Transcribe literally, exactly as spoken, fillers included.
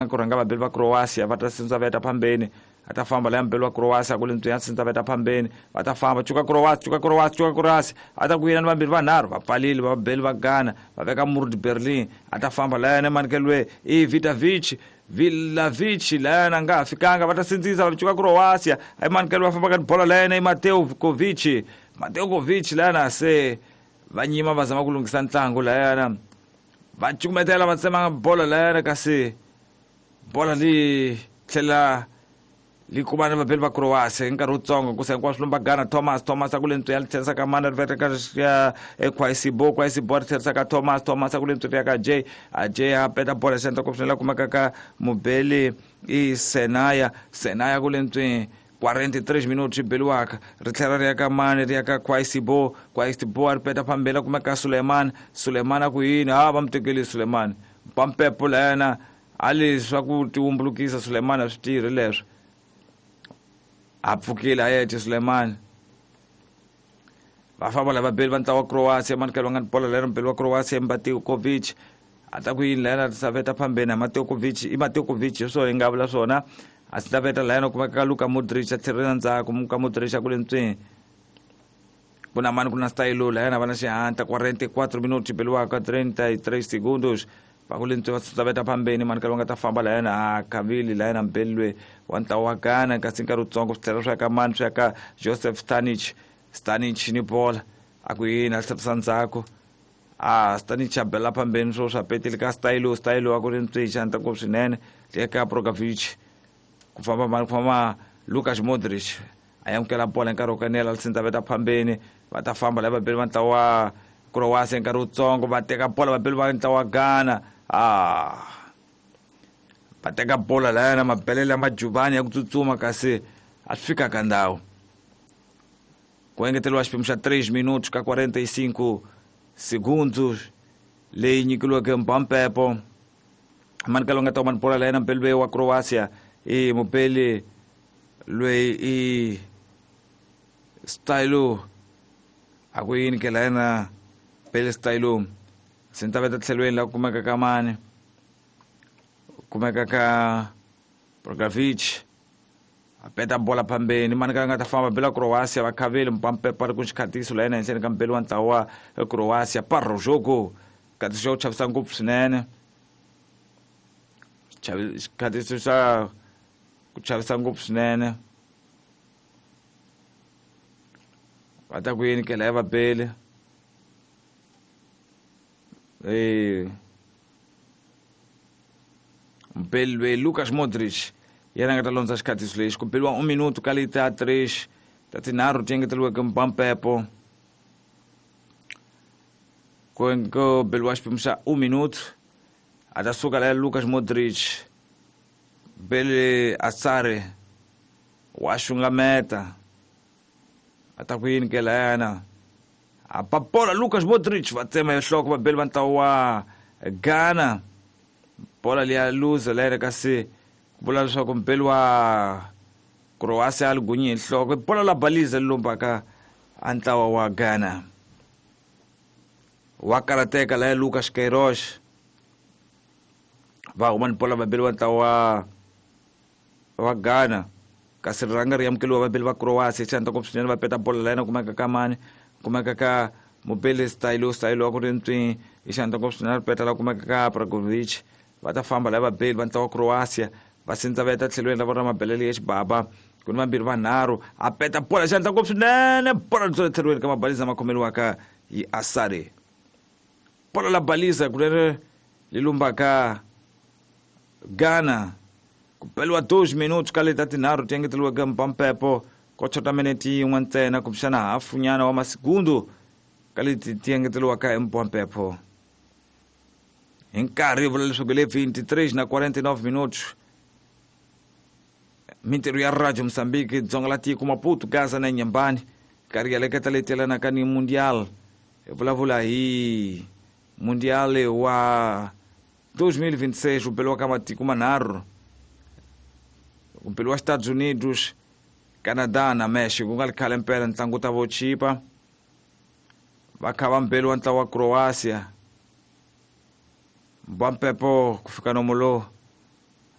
Ku rhanga vabeli va Croatia va ta sindza veta phambeni, a ta famba laya mubeli wa Croatia ku le ntswi ya sindza veta phambeni, va ta famba cuka Croatia, cuka Croatia, cuka Croatia, a ta ku yena ni vambirhi vanharhu va pfalile vabeli va Ghana va veka Murd Berlin, a ta famba laya na Mankelwe i Vitavic Vilavic laya na nga ha fikanga, va ta sindzisa va cuka Croatia, ai Mankelwe va famba ka bola laya na Mateo Kovic, Mateo Kovic laya na se va nyima va zama ku lunghisa ntlangu laya na va cukumetela va tsema bola laya na kasi bola li tlhela li kuma ni vabeli va Croatia hi nkarhi wutsongo ku se hinkwaswo lomba Ghana Thomas Thomas a ku le ntswi ya tlherisa ka mana ri veka ka ya Kwasibo Kwasibo ri tlherisa ka Thomas Thomas a ku le ntswi ya ka J a J a peta bola xandla ku swinene kumeka ka mubeli i Senaya Senaya ku le ntswi quarenta e três minutos swi beliwaka ri tlhela ri ya ka mani ri ya ka Kwasibo Kwasibo a ri peta phambeni kumeka ka Suleiman Suleiman a ku yini ha va mu tekeli Suleiman Mpampepo layana a leswi ku tiwumbulukisa Suleiman a swi tirhi leswo a pfukile a yece Suleiman va famba lava beli va ntlawa wa Croatia manikelo va nga ni bola lera mubeli wa Croatia Mateo-Kovic a ta ku yini layana saveta phambeni Mateo Kovic i Mateo Kovic hi swona yi nga vula swona a swi ta layana kumeka ka Luka Modric a tlhelela ndzhaku Luka Modric a ku le ntswini ku na mani ku na Stylo layana va na xihatla quarenta e quatro minutos beliwaka trinta e três segundos va ku le ntswi va saveta phambeni manikelo va nga ta famba layana a khavili layana mubeli loyi wa ntlawa wa Ghana kasi nkarhi wutsongo swi tlhela swi ya ka mani swi ya ka Joseph Stanic Stanic ni bola a ku yini a tlherisa ndzhaku a Stanic a bela phambeni swo swa petile ka Stylo Stylo a ku ri ntswi xandla ngopfu swinene eka Prokovic ku famba mani ku famba Lukas Modric a amukela bola hi nkarhi wo kanela sindza veta phambeni va ta famba lava vabeli va ntlawa wa Croatia hi nkarhi wutsongo va teka bola vabeli va ntlawa wa Ghana ah va teka bola laya na mabelele ya majubani ya ku tsutsuma kasi a swi fika ka ndhawu ku engeteriwa xiphemu xa três minutos ka quarenta e cinco segundos leyi nyikiliweke Mpampepo manikelo nga ta mani bola laya na mubeli loyi wa Croatia i mubeli loyi i Stylo a ku yini ke layena beli Stylo sintaveta tlhelweni la kumeka ka mani kumeka ka Prokovic a peta bola phambeni mani ka nga ta famba bela Croatia va khaveli Mpampepo ri ku xikhatiso la yena henhleni ka mubeli wa ntlawa wa Croatia parro jogo xikatiso xa ku chavisa ngopfu swinene xikhatiso xa ku chavisa ngopfu swinene va ta ku yini ke laya vabeli eh mubeli loyi Lukas Modric yena nga ta londza xikhatiso lexi ku beliwa un minuto ka leti ta três ta tinharhu ti engeteriweke Mpampepo ku ku beliwa xiphemu xa un minuto a ta suka laya Lukas Modric bele Asare wa xungameta a ta ku yini ke layana a papola Lukas Modric va tsema hi nhloko vabeli va ntlawa wa Ghana bola liya luza layena kasi ku vula leswaku mubeli wa Croatia a li gunyi hi nhloko bola la baliza li lombaka a ntlawa wa Ghana wa karateka laya Lucas Queiroz va huma ni bola vabeli va ntlawa wa wa Ghana kasi rirhanga ri amukeliwa vabeli va Croatia xandla ngopfu swinene va peta bola layena kumeka ka mani kumeka ka mubeli Stylo Stylo wa ku ri ntswi hi xandla ngopfu swinene ri peta la kumeka ka Pragovic va ta famba lava vabeli va ntlawa wa Croatia va sindza va yeta tlhelweni ra vona mabelele ya xibaba ku ni vambirhi vanharhu a peta bola xandla ngopfu swinene bola ri tlhelweni ka mabaliza ma khomeliwaka hi Asare bola la baliza kunene li lumbaka Ghana ku beliwa dois minutos ka leti ta tinharhu ti engeteriweke Mpampepo ko chota minete yin'we ntsena kumbexana hafu nyana wa masigundu ka leti ti engeteriwaka hi Mpampepo hi nkarhi vula leswaku le vinte e três na quarenta e nove minutos mintirho ya Radio Mozambique dzonga la tiko Maputo Gaza na Nyambani karhi ya leketa leti yelanaka ni Mundial hi vulavula hi Mundial wa dois mil e vinte e seis wu beliwaka matiko manharhu ku beliwa Estados Unidos Canada na Mexico ku nga ri khale mpela ntlangu ta vo chipa va kha va mbeli wa ntlawa wa Croatia Mpampepo ku fika nomo lowu.